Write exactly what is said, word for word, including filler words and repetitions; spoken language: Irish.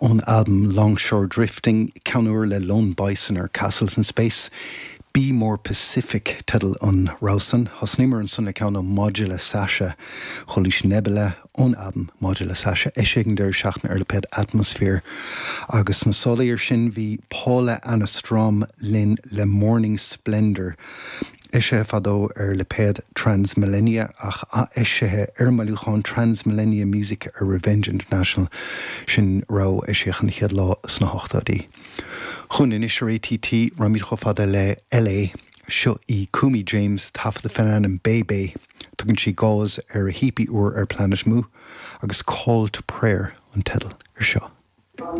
Ón albam Longshore Drifting ceann úr le Lone Bison ar Castles in Space. Be More Pacific teideal an rogha san Thosnaíomar ansan le ceann ó Modular Sasha Cholish Nebula ón albam Modular Sasha eisithe an deireadh seachtaine ar lipéad Atmosphere. Agus na soléir sin bhí Paula Anna Strom linn le Morning Splendor. Eisithe fadó ar lipéad Transmillennia ach atheisithe ar an mbailiúchán Transmillennia Music ar Revenge International sin rogha a eisíodh an chéad lá sna hochtóidí. Chun anois ar ATT rachaimid chomh fada le LA seo í Cumi James taifeadta faoin ainm Bebe, tugann sí gás ar a hEP úr ar Planet Mu agus Call to Prayer an teideal ar seo.